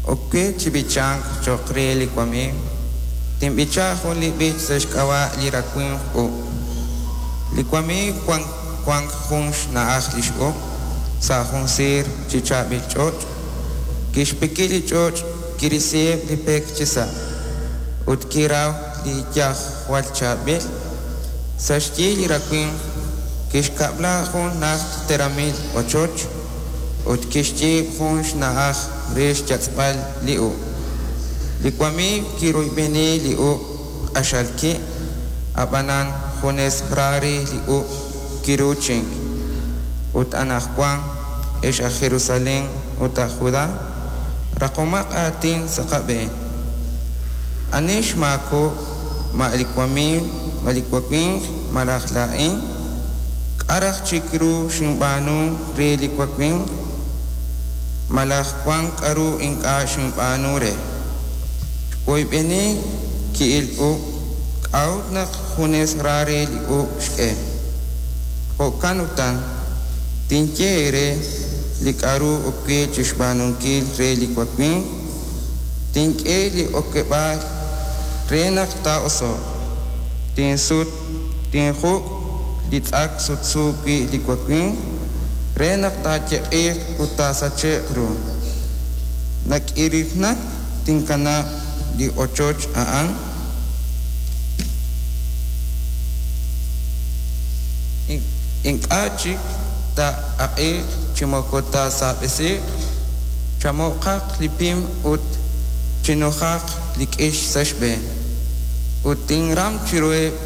Ok we chi b'ichank cho'q re li wamiiw, tinb'icha jun li b'ich sa' xk'ab'a' li rawimq uub'. Li wamiiw wank jun xna'aj li x'uub' sa' jun siir chi chaab'il ch'och'. Kixpiki li ch'och', kirisiheb' li pek chisa' ut kiraw li iyaj jwal chaab'il. Sa' xyi li rawimq kixkab'la jun najt teramil ochoch ut kixyiib' jun xna'aj re xyatz'b'al li uub'. Li wamiiw kiroyb'eni li uub' q'axal ki', ab'anan junes ra re li uub' kiruuchink. Ut anaqwan, ex aj Jerusalén ut aj Judá, raqomaq aatin sa' qab'een. Ani xmaakob'k, ma li wamiiw, ma li wawimq malaj laa'in? K'a' raj chik ru xinb'aanu re li wawimq? Malaj wank k'aru ink'a' xinb'aanu re? Xwoyb'eni ki'il uub', k'a'ut naq junes ra re li uub' xk'e? Jo'kan utan, tinye eere li k'aru ok we chi xb'aanunkil re li wawimq, tink'e li okeb'aal re naq taa'oso'q, tinsut, tinjuk' li tz'ak sutsu wi' li wawimq re naq taayeq'iiq ut taasache'q ru. Nak'irirnak tinkanab' li ochoch a'an. Ink'a' chik taa'aq'iiq chi moko taasaab'esiiq, chamo'qaq li pim ut chinujaq li k'ix sa' xb'een. Ut tinram chiruheb'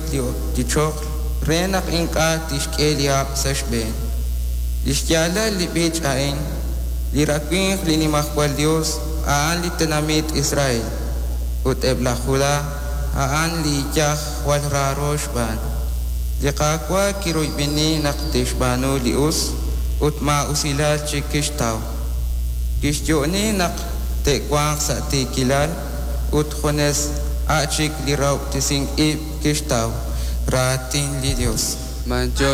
li choql re naq ink'a' tixk'e li hab' sa' xb'een. Li xyaalal li b'ich a'in, li rawimq li Nimajwal Yos a'an li tenamit Israel, ut eb' laj Judá a'an li iyaj jwal raaro xb'aan. Li Qaawa' kiroyb'eni naq te'xb'aanu li us, ut maa'usilal chik kixtaw. Kixyo'oni naq te'wanq sa' tiikilal, ut junes a' chik li rahob'tesink ib' kixtaw. Raatin li Yos. B'antiox.